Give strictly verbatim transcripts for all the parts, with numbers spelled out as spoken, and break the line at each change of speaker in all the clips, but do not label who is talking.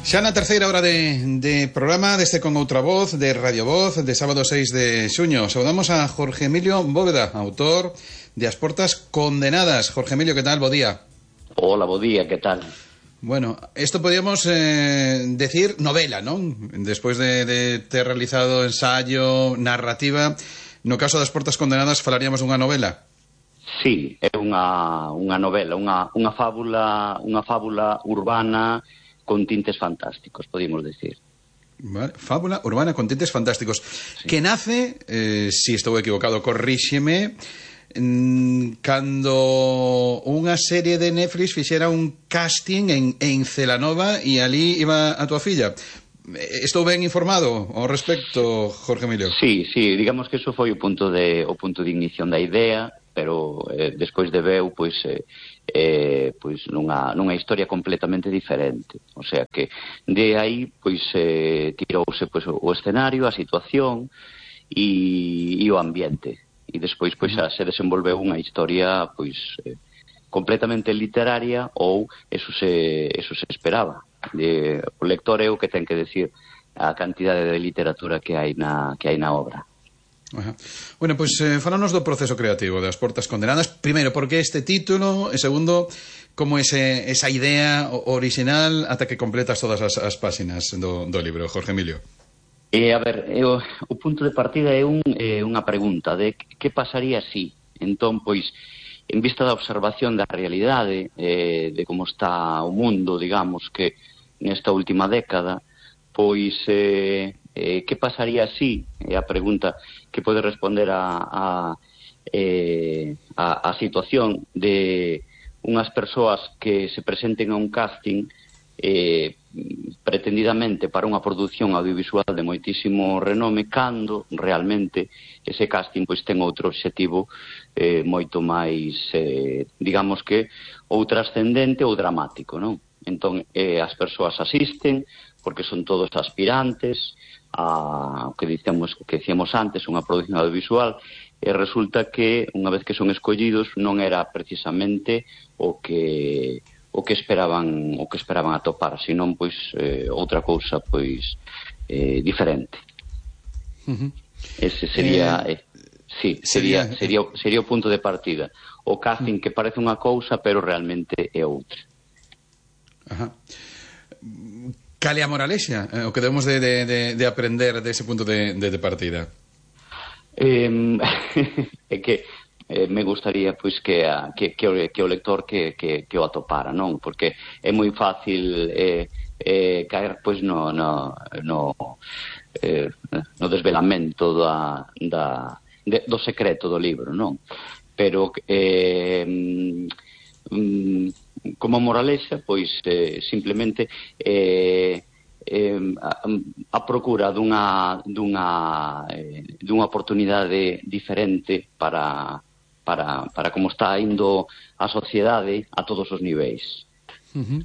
Xa na terceira hora de, de programa deste Con Outra Voz, de Radio Voz, de sábado seis de xuño. Saudamos a Jorge Emilio Bóveda, autor de As Portas Condenadas. Jorge Emilio, que tal? Bo día.
Hola, bo día, que tal?
Bueno, esto podríamos eh, decir novela, ¿no? Despois de, de ter realizado ensayo, narrativa, no caso das Portas Condenadas falaríamos dunha novela?
Sí, é unha, unha novela, unha, unha fábula, unha fábula urbana con tintes fantásticos, podemos decir.
Vale. Fábula urbana con tintes fantásticos, sí. Que nace, eh, si estou equivocado, corríxeme, cando unha serie de Netflix fixera un casting en, en Celanova e ali iba a tua filla. Estou ben informado ao respecto, Jorge Emilio?
Sí, sí, digamos que eso foi o punto de, o punto de ignición da idea, pero eh, despois de veu, pois... Eh, Eh, pois nunha, nunha historia completamente diferente, o sea que de aí pois eh, tirouse pois, o escenario, a situación e, e o ambiente, e despois pois xa se desenvolveu unha historia pois eh, completamente literaria, ou eso se, eso se esperaba de, o lector é o que ten que decir a cantidade de literatura que hai na, que hai na obra.
Ajá. Bueno, pois pues, eh, falanos do proceso creativo das Portas Condenadas. Primeiro, por que este título? E segundo, como ese, esa idea original ata que completas todas as, as páxinas do, do libro, Jorge Emilio?
Eh, a ver, eh, o, o punto de partida é un, eh, unha pregunta de que pasaría si. Entón, pois, en vista da observación da realidade, eh, de como está o mundo, digamos, que nesta última década, pois... Eh, Eh, que pasaría si? É a pregunta que pode responder a, a, eh, a, a situación de unhas persoas que se presenten a un casting eh, pretendidamente para unha produción audiovisual de moitísimo renome, cando realmente ese casting pois ten outro obxectivo eh, moito máis, eh, digamos que, ou trascendente ou dramático, non? Entón, eh, as persoas asisten porque son todos aspirantes a o que dicíamos, que dicíamos antes, unha produción audiovisual, e resulta que unha vez que son escollidos non era precisamente o que o que esperaban o que esperaban atopar, senón pois eh, outra cousa pois eh, diferente.
Uh-huh.
Ese sería eh, eh, sí, sería sería sería o punto de partida. O casting que parece unha cousa, pero realmente é outra.
Ajá. Cal é a moralexa? Eh, o que debemos de, de, de, de aprender dese punto de, de, de partida?
Eh, é que eh, me gustaría pois que, a, que, que, o, que o lector que, que, que o atopara, non? Porque é moi fácil eh, eh, caer pois no, no, no, eh, no desvelamento da, da, de, do secreto do libro, non? Pero eh, mm, como moralexa, pois eh, simplemente eh, eh, a, a procura dunha dunha eh, dunha oportunidade diferente para para para como está indo a sociedade a todos os niveis.
Uh-huh.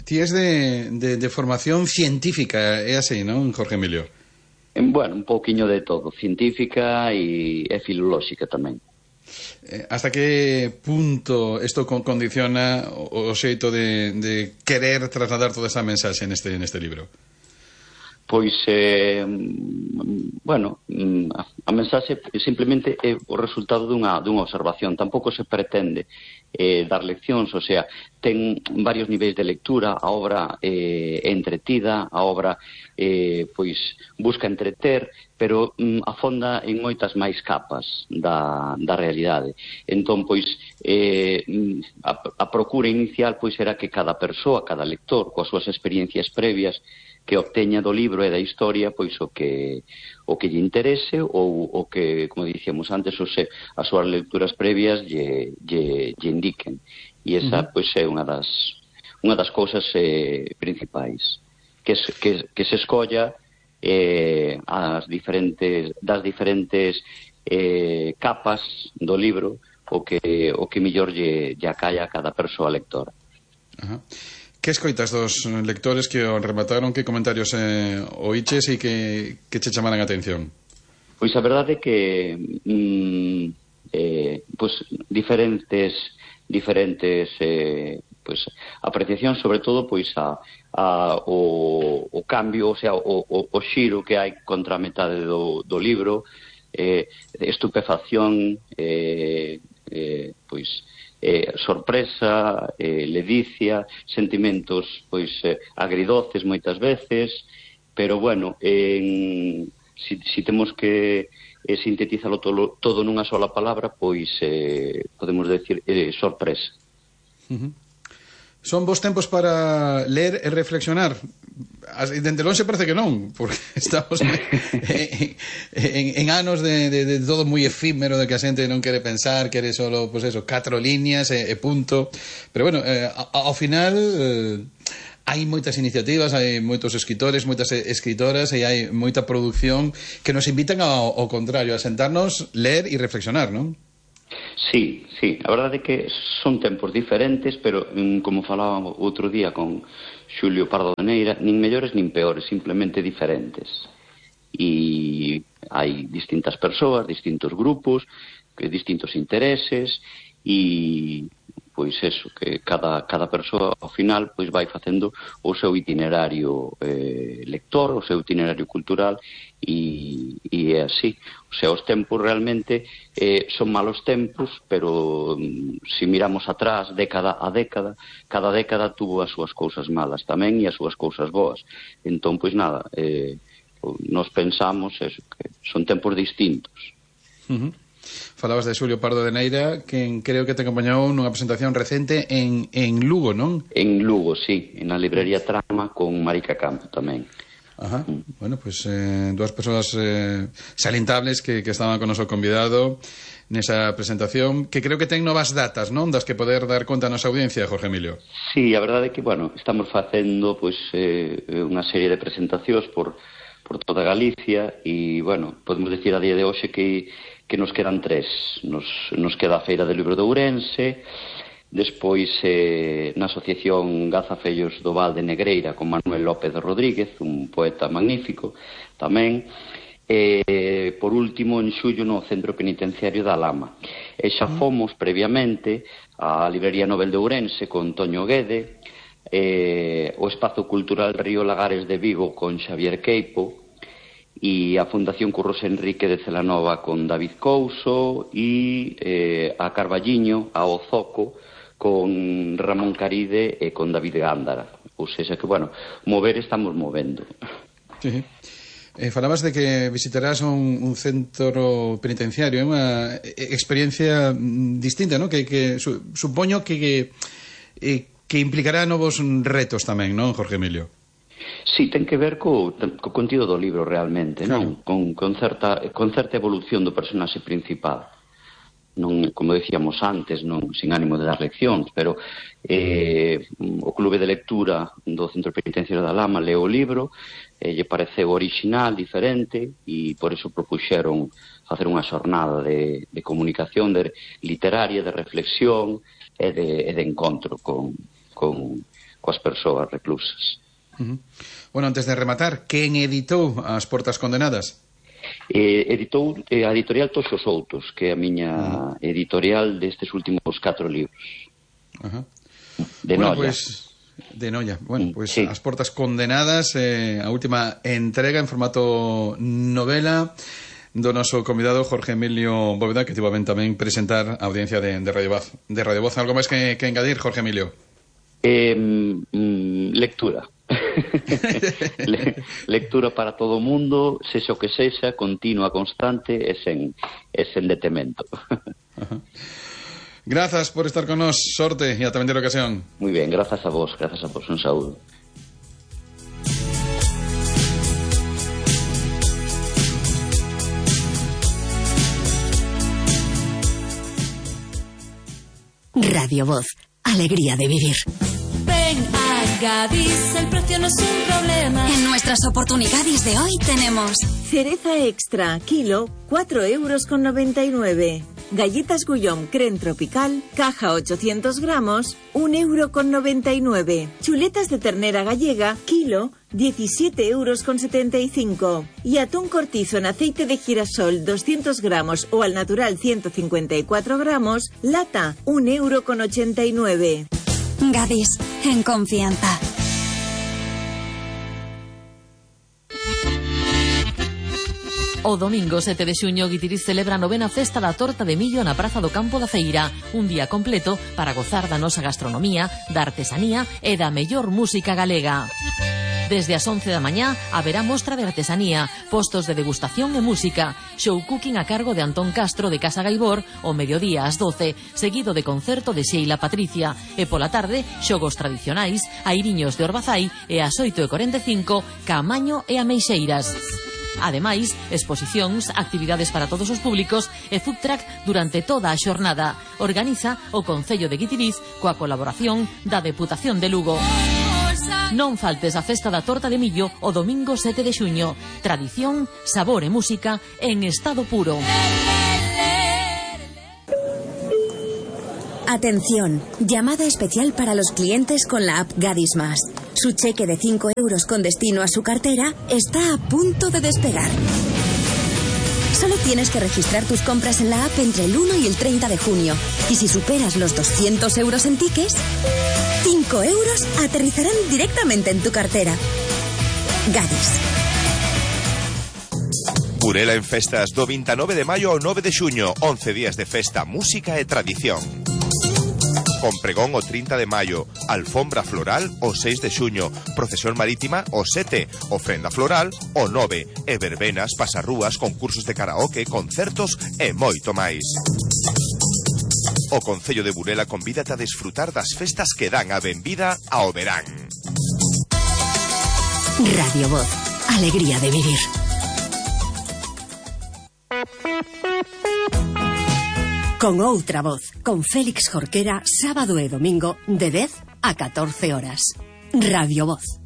Ti es de, de, de formación científica, é así, non, Jorge Emilio?
En, bueno, un pouquiño de todo, científica e, e filolóxica tamén.
Eh, hasta que punto isto condiciona o, o xeito de, de querer trasladar toda esa mensaxe neste, neste libro?
Pois, eh, bueno, a, a mensaxe simplemente é o resultado dunha, dunha observación. Tampouco se pretende eh, dar leccións, o sea, ten varios niveis de lectura, a obra eh, é entretida, a obra eh, pois busca entreter, pero mm, afonda en moitas máis capas da, da realidade. Entón, pois, eh, a, a procura inicial pois era que cada persoa, cada lector, coas súas experiencias previas, que obteña do libro e da historia pois o que o que lle interese ou o que, como dicíamos antes, o se, as súas lecturas previas lle, lle, lle indiquen. E esa uh-huh. pois é unha das unha das cousas eh, principais, que, que, que se escolla eh, as diferentes das diferentes eh, capas do libro o que o que mellor lle, lle acalla a cada persoa lectora.
Ajá. Uh-huh. Que escoitas dos lectores que o remataron? Que comentarios eh, oíches e que, que che chamaran a atención?
Pois a verdade é que mm, eh, pois diferentes diferentes eh, pois, apreciación sobre todo pois a, a, o, o cambio, o sea, o, o, o xiro que hai contra a metade do, do libro, eh, estupefacción, eh, eh, pois eh, sorpresa, eh, ledicia, sentimentos pois eh, agridoces moitas veces, pero bueno, en, si, si temos que e sintetizalo todo, todo nunha sola palabra, pois eh, podemos decir eh, sorpresa.
Uh-huh. Son bons tempos para ler e reflexionar? Dende lonxe parece que non, porque estamos en, en, en anos de, de, de todo moi efímero, de que a xente non quere pensar, quere solo, pues eso, catro líneas e, e punto. Pero bueno, eh, ao final... Eh, hai moitas iniciativas, hai moitos escritores, moitas escritoras e hai moita produción que nos invitan ao, ao contrario, a sentarnos, ler e reflexionar, non?
Sí, sí, a verdade é que son tempos diferentes, pero como falaba outro día con Xulio Pardo de Neira, nin mellores nin peores, simplemente diferentes. E hai distintas persoas, distintos grupos, distintos intereses e... pois eso, que cada, cada persoa ao final pois vai facendo o seu itinerario eh, lector, o seu itinerario cultural e, e é así. O sea, os tempos realmente eh, son malos tempos, pero mm, se miramos atrás, década a década, cada década tuvo as súas cousas malas tamén e as súas cousas boas. Entón, pois nada, eh, nos pensamos eso, que son tempos distintos.
Uh-huh. Falabas de Xulio Pardo de Neira, que creo que te acompañou nunha presentación recente en, en Lugo, non?
En Lugo, sí, na librería Trama con Marica Campo tamén.
Ajá, mm. Bueno, pues eh, dúas persoas eh, salientables que, que estaban con o noso convidado nesa presentación, que creo que ten novas datas, non? Das que poder dar conta a nosa audiencia, Jorge Emilio.
Sí, a verdade é que, bueno, estamos facendo pues, eh, unha serie de presentacións por, por toda Galicia e, bueno, podemos decir a día de hoxe que que nos quedan tres. Nos, nos queda a Feira do Libro de Ourense, despois eh, na Asociación Gazafellos do Val de Negreira con Manuel López Rodríguez, un poeta magnífico tamén, e eh, por último en xullo no Centro Penitenciario da Lama. E xa fomos previamente á Librería Nobel de Ourense con Toño Guede, eh, o Espazo Cultural Río Lagares de Vigo con Xavier Queipo, e a Fundación Curros Enrique de Celanova con David Couso e eh, a Carballiño, a Ozoco con Ramón Caride e con David Gándara. Ou seja que, bueno, mover estamos movendo.
Sí. Eh, falabas de que visitarás un, un centro penitenciario, é unha experiencia distinta, ¿no? Que, que su, supoño que, que, eh, que implicará novos retos tamén, non, Jorge Emilio?
Sí, ten que ver co, co contido do libro realmente,
claro.
Non? Con, con, certa, con certa evolución do personaxe principal. Non, como decíamos antes, non sin ánimo de dar leccións, pero eh, o clube de lectura do Centro Penitenciario da Lama leo o libro, eh, lle pareceu original, diferente, e por iso propuxeron facer unha xornada de, de comunicación de literaria, de reflexión e de, e de encontro con, con, coas persoas reclusas.
Uh-huh. Bueno, antes de rematar, quen editou As Portas Condenadas?
Eh, editou eh, a editorial Toxos Outos, que é a miña uh-huh. editorial destes últimos catro libros.
Uh-huh.
De
bueno,
Noia.
Pues, de Noia. Bueno, pues
sí.
As Portas Condenadas, eh, a última entrega en formato novela do noso convidado Jorge Emilio Bóveda, que tivo a ben tamén presentar a audiencia de, de Radio Voz. De Radio Voz. Algo máis que, que engadir, Jorge Emilio?
Eh, mm, lectura. Le, lectura para todo o mundo, sexa o que sexa, continua, constante e sen, e sen detemento.
Grazas por estar con nos, sorte e ata vindeira ocasión.
Moi ben, grazas a vos, grazas a vos, un saúdo.
Radio Voz, alegría de vivir.
Ven a Gadis, el precio no es un problema.
En nuestras oportunidades de hoy tenemos
cereza extra, kilo, cuatro euros con noventa y nueve. Galletas Guillaume Creme Tropical, caja ochocientos gramos, un euro con noventa y nueve. Chuletas de ternera gallega, kilo, diecisiete euros con setenta y cinco. Y atún cortizo en aceite de girasol, doscientos gramos o al natural ciento cincuenta y cuatro gramos, lata, un euro con ochenta y nueve.
Gadis, en confianza.
O domingo sete de xuño Guitiriz celebra a novena festa da torta de millo na Praza do Campo da Feira. Un día completo para gozar da nosa gastronomía, da artesanía e da mellor música galega. Desde as once da mañá haberá mostra de artesanía, postos de degustación e música, show cooking a cargo de Antón Castro de Casa Gaibor, o mediodía ás doce, seguido de concerto de Sheila Patricia, e pola tarde, xogos tradicionais, airiños de Orbazai e ás oito e cuarenta e cinco, Caamaño e Ameixeiras. Ademais, exposicións, actividades para todos os públicos e food truck durante toda a xornada. Organiza o Concello de Guitiriz coa colaboración da Deputación de Lugo. Non faltes a festa da torta de millo o domingo sete de xuño. Tradición, sabor e música en estado puro.
Atención, llamada especial para los clientes con la app Gadis Más. Su cheque de cinco euros con destino a su cartera está a punto de despegar. Solo tienes que registrar tus compras en la app entre el uno y el treinta de junio. Y si superas los doscientos euros en tickets, cinco euros aterrizarán directamente en tu cartera. Gadis.
Burela en festas do veintinueve de maio ao nove de xuño, once días de festa, música e tradición. Con pregón o trinta de maio, alfombra floral o seis de xuño, procesión marítima o sete, ofrenda floral o nove, e verbenas, pasarrúas, concursos de karaoke, concertos e moito máis. O Concello de Burela convídate a desfrutar das festas que dan a benvida ao verán.
Radio Voz, alegría de vivir. Con outra voz, con Félix Jorquera, sábado e domingo, de dez a catorce horas. Radio Voz.